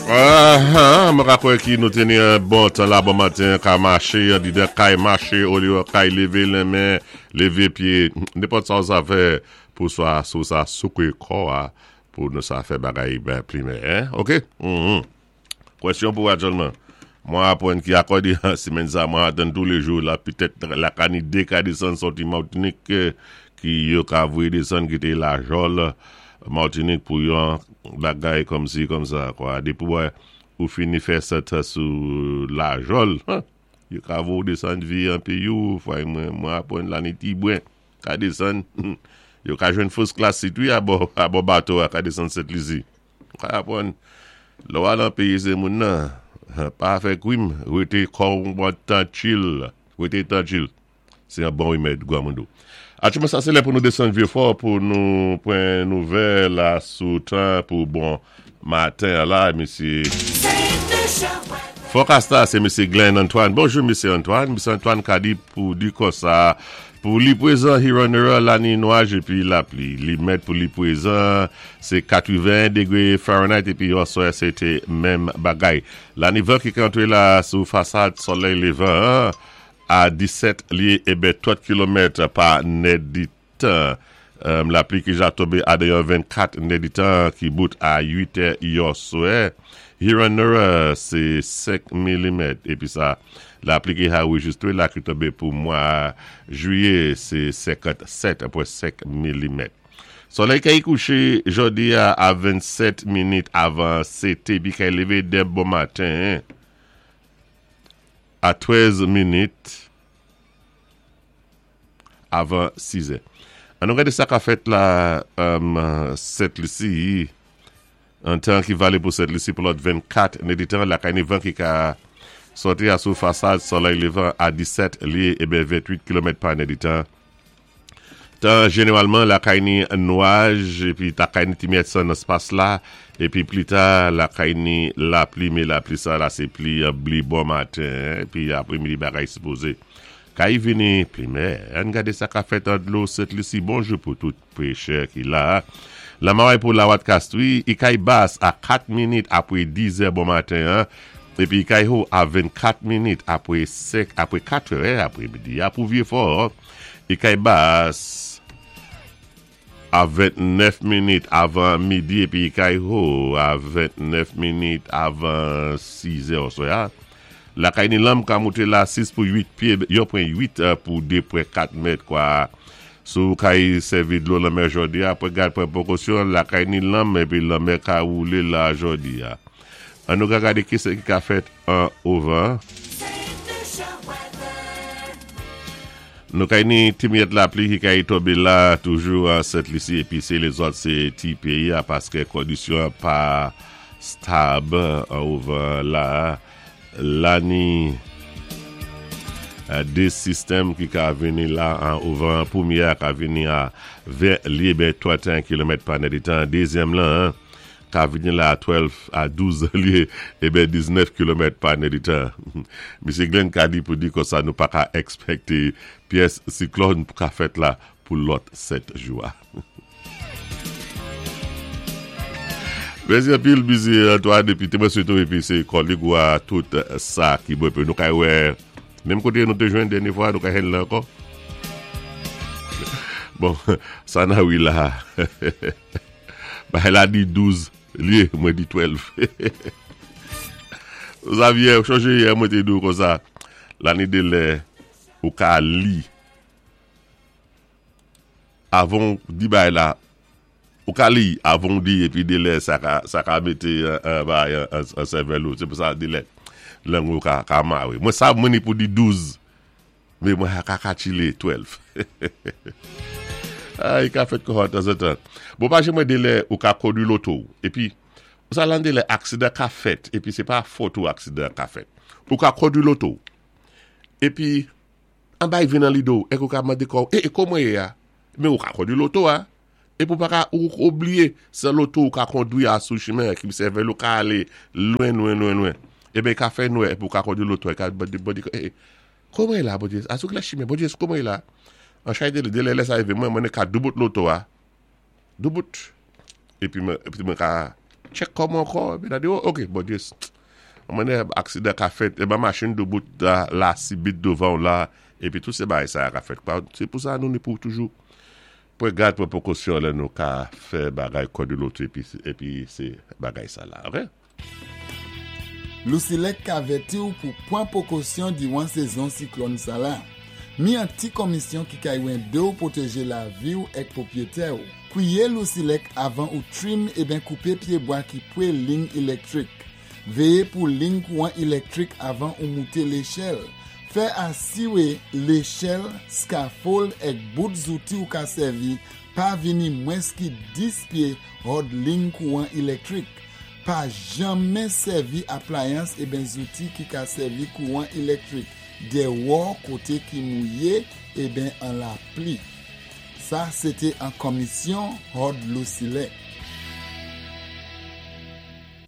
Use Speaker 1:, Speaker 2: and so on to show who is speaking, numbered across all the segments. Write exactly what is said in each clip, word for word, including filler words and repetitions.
Speaker 1: Ah, mwen ka kwè ki nou teni yon bon tan la bon maten, ka maché, di de kay maché, olye kay lévé lenmen, lévé pyé, nenpòt sa ou sa fè pou swa sou sa soukwé kò a, pou nou sa fè bagay ben pli meyè, hein? Ok? Mm-hmm. Kwèsyon pou aktyèlman. Mwen apwann ki akòdi simenn sa, mwen atann tou lé jou la, pitèt la ka ni dé ka désann sòti Matinik ki yo ka voyé désann kité Lajòl Matinik pou yon bagay kòm si kòm sa, kwa. Dépi wè ou fini fè sèt sou Lajòl, yo ka voye désann vi an péyi ou, fwa mwen mwen apwann la ni ti bwen ka désann, yo ka jwenn first class seat wi abò abò bato a ka désann Sent Lisi. Ka apwann lò w al an péyi sé moun nan, pa fè kwim, rété kò w trankil, rété trankil. Sé yon bon wimèd gwa moun dou. Aktyèlman sa sé lè pou nou désann Vyefò pou nou pwan nouvèl la sou tan pou bon maten la, mésyé. Forecast sé mésyé Glenn Antoine. Bonjou mésyé Antoine. Mésyé Antoine ka di pou di konsa pou li pwézan Huron la ni nwaj épi lapli. Li mèt pou li pwézan sé katreven degwé Fahrenheit épi oswè sé té menm bagay. La ni van ki antré la sou fasad solèy lévan a disèt lyé é trant kilomèt pa nèditan. Um, lapli ki ja tonbé a déyò vennkat nèditan ki bout a uit è yòswè. Huron sé senk milimèt. Épi sa, lapli ki a anrejistwé la ki tonbé pou mwa jwiyé, sé senkantsèt pwen senk milimèt. Solèy kay kouché jòdi a, a vennsèt minit avan sèt épi kay lévé dè bon maten a trèz minit avan sis è. An nou gadé sa ka fèt la um, Sent Lisi, an tan ki valé pou Sent Lisi pou lòt vennkat nèditan, la kay ni van ki ka sòti a sou fasad solèy lévan a disèt lyé é ventwit kilomèt pa nèditan. Tan jénéwalman la kay ni nwaj épi ta kay ni ti myèt san nan éspas la épi pli ta la kay ni lapli, mé lapli sa la sé pli bli bon maten épi apré midi bagay sipozé kay vini pli meyè. An gadé sa ka fèt an dlo Sent Lisi. Bonjou pou tout péchè ki la. Lamaway pou Lawat Kastwi, i kay bas a kat minit apwé diz è bon maten, hein, épi kay ho a vennkat minit apwé senk apwé kat è apwé midi a pou Vyefò. I kay bas a vennèf minit avan midi épi kay ho a vennèf minit avan sis è oswè. La kay ni lanm ka mouté la sis pou uit pyé, yon pwen uit pou de pwen kat mèt kwa. Sou kay sèvi dlo lanmè jòdi a, apwé gad pwan pwékosyon, la kay ni lanm épi lanmè ka woulé la jòdi a. An nou ka gadé ki sé ki ka fèt an ovan. Nou kay ni ti myèt lapli ki kay tonbé la toujou an Sent Lisi épi sé lézòt sé ti péyi a paské kondisyon pa stab an ovan la. La ni dé sistèm ki ka vini la an ovan. Pwémyé ka vini a ven lyé ben tranteyen kilomèt pa nèditan. Dézyèm lan ka vini la a douz a douz lyé é ben diznèf kilomèt pa nèditan. Mésyé Glenn ka di pou di konsa nou pa ka èkspèkté pyès siklòn pou ka fèt la pou lòt sèt jou. Mèsi anpil mésyé Antoine épi té mwen swété épi sé kòlèg ou a tout sa ki bon épi nou kay wè menm koté nou té jwenn dènyé fwa nou kay jwenn la ankò. Bon, sa nan wi la. Bah la di douz lyé, mwen di douz. Xavier, chonjé yè mwen té di konsa. La ni dé lè ou ka li avan di bay la ou ka li avan di épi dé lè sa ka sa ka mété un bay an sèvèl ou. Sé pou sa dé lè lang ou ka ka maré. Mwen sa mwen ni pou di douz mé mwen ka ka chilé douz. Ah, i ka fèt kò tanzantan. Bon, pa mwen dé lè ou ka kondwi loto épi sa lan dé lè aksidan ka fèt épi sé pa fòt ou aksidan ka fèt. Ou ka kondwi loto épi an bay vin nan lidé ou é ou ka mandé kò é, é kòman yé a? Mé ou ka kondwi loto a. É pou pa ka ou oubliyé sé loto ou ka kondwi a sou chimen ki sèvèl ou ka alé lwen lwen lwen lwen. É ben ka fè nwè pou ka kondwi loto ka mandé mandé é, kòman yé la Bondyé? A sou ki la chimen Bondyé kòman yé la? An chay dé lè lè sa rivé mwen mwen ka doubout loto a. Doubout. Épi mwen épi mwen ka Check kò mwen ankò, épi la di, oh, ok, bon just, mwen aksidan ka fèt, é ba machin doubout la, la sibit douvan la, épi tout sé bagay sa ka fèt. Sé pou sa nou ni pou toujou pou gad pou pwékosyon lè nou ka fè bagay kò di loto épi, épi sé bagay sa la, ok?
Speaker 2: Lusilek ka avèti ou pou pwan pwékosyon diwan sézon siklòn sa la. Mi an ti komisyon ki ka édé ou pwotéjé lavi ou èk pwopwiyétè ou. Kwiyé Lusilek avan ou trim eben koupé pyébwa ki pwé lign élektwik. Véyé pou lign kouwan élektwik avan ou mouté léchèl. Fè asiwé léchèl, scaffold èk bout zouti ou ka sèvi pa vini mwens ki dis pyé hòd lign kouwan élektwik. Pa janmen sèvi aplayans eben zouti ki ka sèvi kouwan élektwik. Déwò koté ki mouyé eben an lapli. Sa, sété an komisyon hòd Lusilek.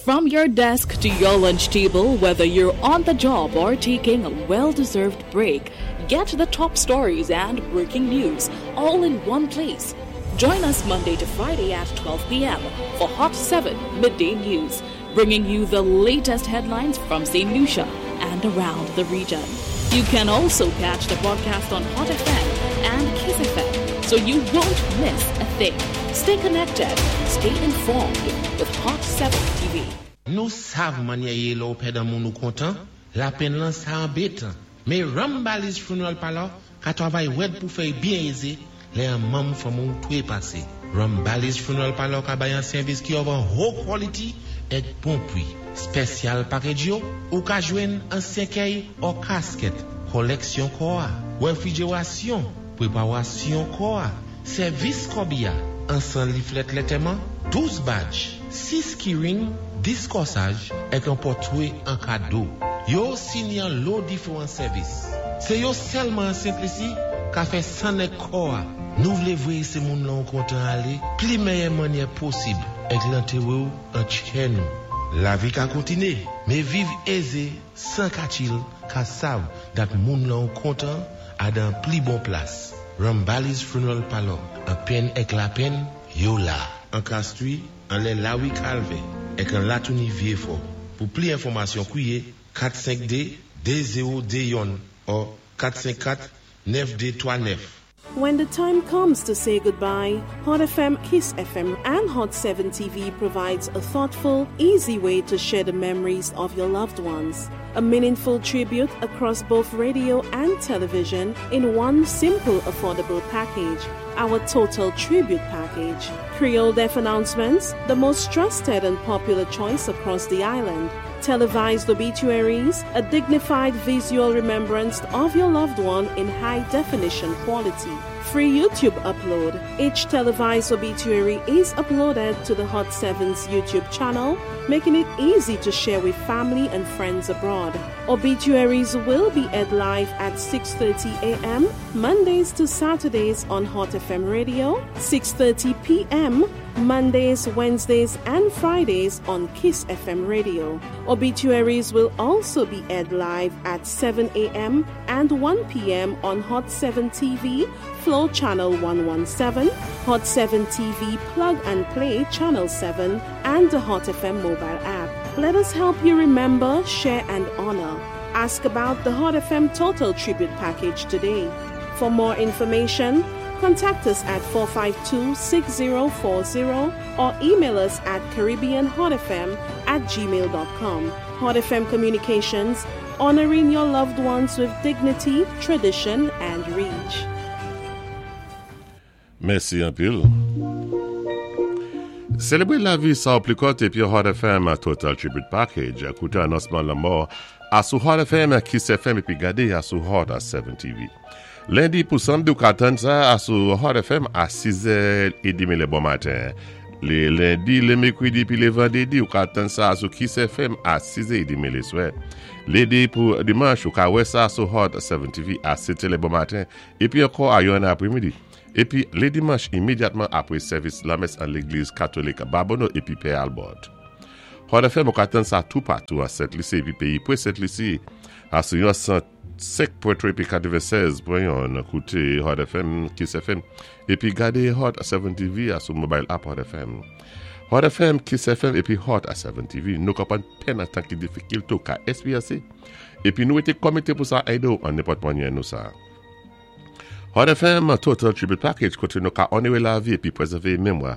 Speaker 3: From your desk to your lunch table, whether you're on the job or taking a well deserved break, get the top stories and breaking news all in one place. Join us Monday to Friday at twelve p m for Hot seven Midday News, bringing you the latest headlines from Saint Lucia and around the region. You can also catch the broadcast on Hot F M and Kiss F M, so you won't miss a thing. Stay connected, stay informed with Hot seven T V.
Speaker 4: Nou sav mannyè yé lè ou pèd an moun ou kontan, lapenn lan sa anbétan. Mé Rambali's Funeral Parlor ka twavay wèd pou fè byen ézé, lè an manm fanmi ou twé pasé. Rambali's Funeral Parlor ka bay an sèvis ki of an haut quality èk bon pwi. Special package yo, ou ka jwenn an sèkèy ou kasket, koleksyon kò a, wéfwijérasyon, pwépawasyon kò a, sèvis kòbiya, an san leaflet lantèman, douz badge, sis keyring, dis kòsaj, èk an pòtwé an kado. Yo sini an lo diféwan sèvis. Sé yo sèlman an Sent Lisi ka fè san èk kò a. Nou vlé vwéyé sé moun lan kontan alé, pli méyè mannyè posib, èk lantéré ou an tchè nou. Lavi ka kontiné, mé viv ézé, san katchil, ka sav dat moun lan kontan a dan pli bon plas. Rambali's Funeral Parlor, an penn èk lapenn, yo la. An Castries, anlè Lawi Calvé, èk an Latouni Vieux-Fort. Pou pli enfòmasyon, kwiyé kat senk de de zewo de youn ou kat senk kat nèf de twa nèf.
Speaker 5: When the time comes to say goodbye, Hot F M, Kiss F M, and Hot seven T V provides a thoughtful, easy way to share the memories of your loved ones. A meaningful tribute across both radio and television in one simple, affordable package. Our Total Tribute Package. Creole Death announcements, the most trusted and popular choice across the island. Televised obituaries, a dignified visual remembrance of your loved one in high definition quality. Free YouTube upload. Each televised obituary is uploaded to the Hot seven's YouTube channel, making it easy to share with family and friends abroad. Obituaries will be aired live at six thirty a m. Mondays to Saturdays on Hot F M Radio, six thirty p m. Mondays, Wednesdays, and Fridays on Kiss F M Radio. Obituaries will also be aired live at seven a m and one p m on Hot seven T V, Flow Channel one one seven, Hot seven T V Plug and Play Channel seven, and the Hot F M mobile app. Let us help you remember, share, and honor. Ask about the Hot F M Total Tribute Package today. For more information, contact us at four five two, six zero four zero or email us at caribbeanhotfm at gmail dot com. Hot F M Communications, honoring your loved ones with dignity, tradition, and reach.
Speaker 1: Mèsi anpil. Sélébré lavi san pli kòt épi Hot F M Total Tribute Package. Kouté anonsman lanmò asou Hot F M, Kiss F M épi gadé asou Hot seven T V. Lendi pou samdi ou ka tann sa asou Hot F M a sis è edmi lé bon maten. Lé lendi, lé mèkwédi pi lé vandédi ou ka tann sa asou Kiss F M a sis è edmi lé swè. Lendi pou dimanch ou ka wè sa sou Hot seven T V a sèt lé bon maten épi ankò a yonn apwémidi. Épi lé dimanch imédyatman apwé sèvis lamès an légliz katolik Babonneau épi Pè Albert. Hot F M ou ka tann sa tou patou a Sent Lisi épi péyi pwé Sent Lisi asou yon san senk pwen twa épi katwennsèz pwen youn. Kouté Hot F M, Kiss F M épi gadé Hot seven T V asou mobile app Hot F M. Hot F M, Kiss F M épi Hot a sèt T V, nou konpwann penn an tan ki difikil tou ka èspéryansé. Épi nou été komité pou sa èdé an nenpòt manyè nou sa. Hot F M Total Tribute Package koté nou ka onoré lavi épi pwézèvé mémwa.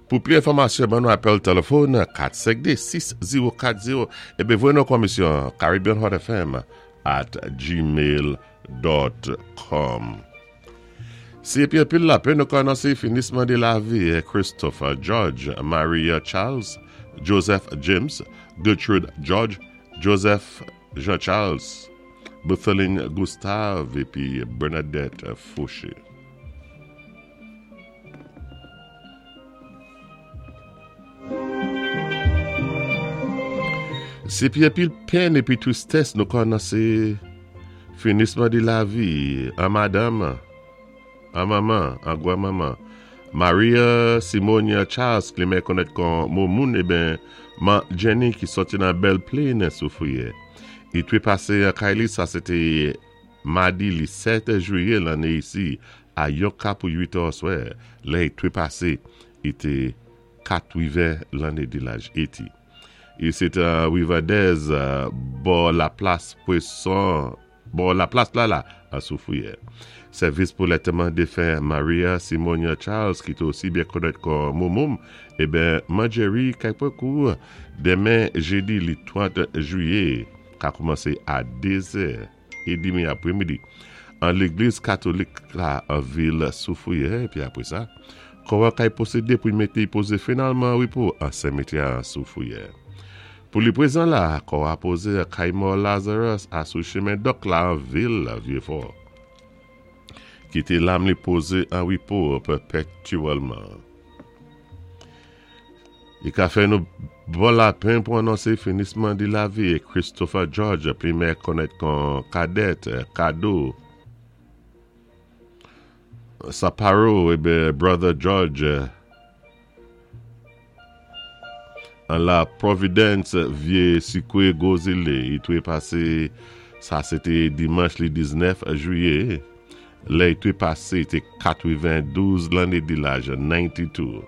Speaker 1: Pou plis enfòmasyon, ban nou apèl téléfòn kat senk de, sis zewo kat zewo épi voyé nou komisyon caribbeanhotfm at gmail dot com. Si épi anpil lapenn nou ka anonsé finisman di lavi Christopher George, Maria Charles, Joseph James, Gertrude George, Joseph Jean Charles, Bethelyne Gustave épi Bernadette Fauché. Si épi anpil penn épi twistès nou ka anonsé finisman di lavi an madanm, an manman, an gwan-manman, Maria Simonia Charles, ki mèyè konnèt kon Moumoun, ében, Man Jenny ki sòti nan Belle Plaine Soufrière. I twé pasé an kay li, sa sété madi li sèt jwiyé lanné isi, a yon ka pou uit è oswè. Lè i twé pasé, i té katwiven lanné di laj eighty. I sété Rivadez, bò la plas pwason, bò la plas la la, a Soufrière. Sèvis pou lantèman défen Maria Simonia Charles, ki té osi byen konnèt kon Moumoum, ében, Manjerry kay kou denmen jédi li trant jwiyé, ka koumansé a dé zè é dmi apwémidi an légliz katolik la an vil Soufrière, épi apwé sa, kò a kay pwosédé pou mété pozé finalman an répo an simityè an Soufrière. Pou li pwézan la, kò a pozé a kay mò Lazarus a sou chimen Dòk la an vil Vieux-Fort. Kité lam li pozé an répo pèpétyèlman. I ka fè nou bon lapenn pou anonsé finisman di lavi Christopher George, pli mèyè konnèt kon Cadet, Kado, Saparo, ében Brother George, an la Providence, Vyé Sikwi Gwozilé. I twé pasé, sa sété dimanch li diznèf jwiyé. Lè i twé pasé, té katwendouz lanné di laj, nannti-de.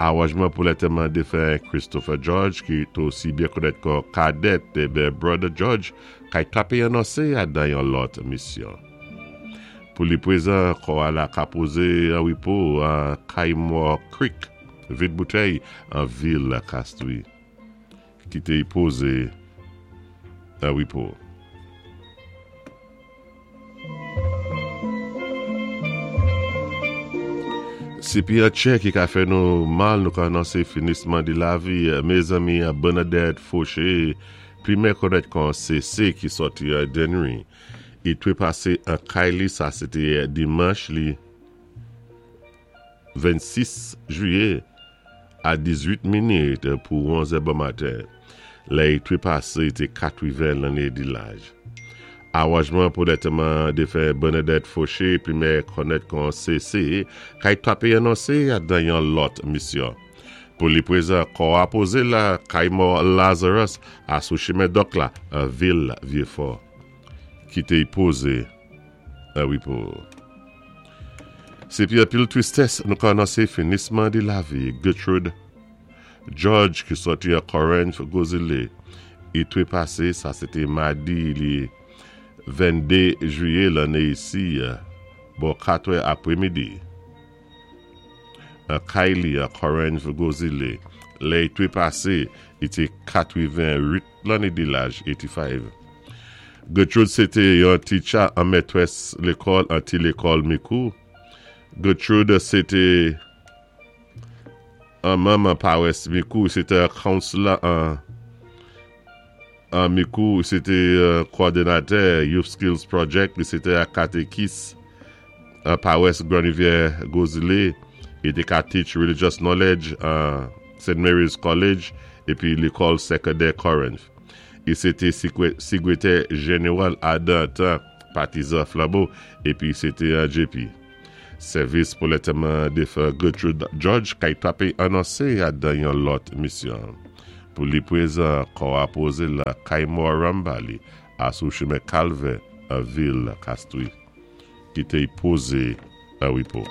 Speaker 1: Awanjman pou lantèman défen Christopher George, ki té osi byen konnèt kon Cadet, ében Brother George, kay tapé anonsé a dan yon lòt misyon. Pou li pwézan, kò a la ka pozé an répo an Kaymore Creek, Vide Bouteille, an vil Castries. Kité i pozé an répo. Si pi tchè ki ka fè nou mal, nou ka anonsé finisman di lavi, mézanmi Bernadette Fauché, pli mèyè konnèt kon C C ki sòti a Dennery. I twé pasé an kay li, sa sété dimanch li vennsis jwiyé a dizuit minit pou onz bon maten. Lè i twé pasé, té katwiven lanné di laj. Awanjman pou lantèman défen Bernadette Fauché, pli mèyè konnèt kon C C, kay tapé anonsé a dan yon lòt misyon. Pou li pwézan, kò a pozé la kay mò Lazarus a sou chimen Dòk la, an vil Vieux-Fort. Kité i pozé an répo. Si pi anpil twistès nou ka anonsé finisman di lavi Gertrude George ki sòti a Corinth Gozile. I twé pasé, sa sété madi li venndé jwiyé lanné isi, bò kat è apwémidi. A kay li a Corinth Gozile. Lè i twé pasé, i té katwenwit lanné di laj, eighty-five. Gertrude sété yon teacher an mètwès lékòl, an ti lékòl Mikou. Gertrude sété an manman pawès Mikou, sété an counselor an an Mikou, sété kowòdonatè Youth Skills Project, sété an katékis an pawès Grand Rivière Gozile, i té ka teach religious knowledge an Saint Mary's College épi lékòl sékondè Corinth. I sété sékrétè jénéwal adan tan Patizan Flambeau épi sété an J P. Sèvis pou lantèman défen Gertrude George kay tapé anonsé a dan yon lòt misyon. Pou li pwézan, kò a pozé la kay mò Rambali a sou chimen Calvin an vil Castries. Kité i pozé an répo.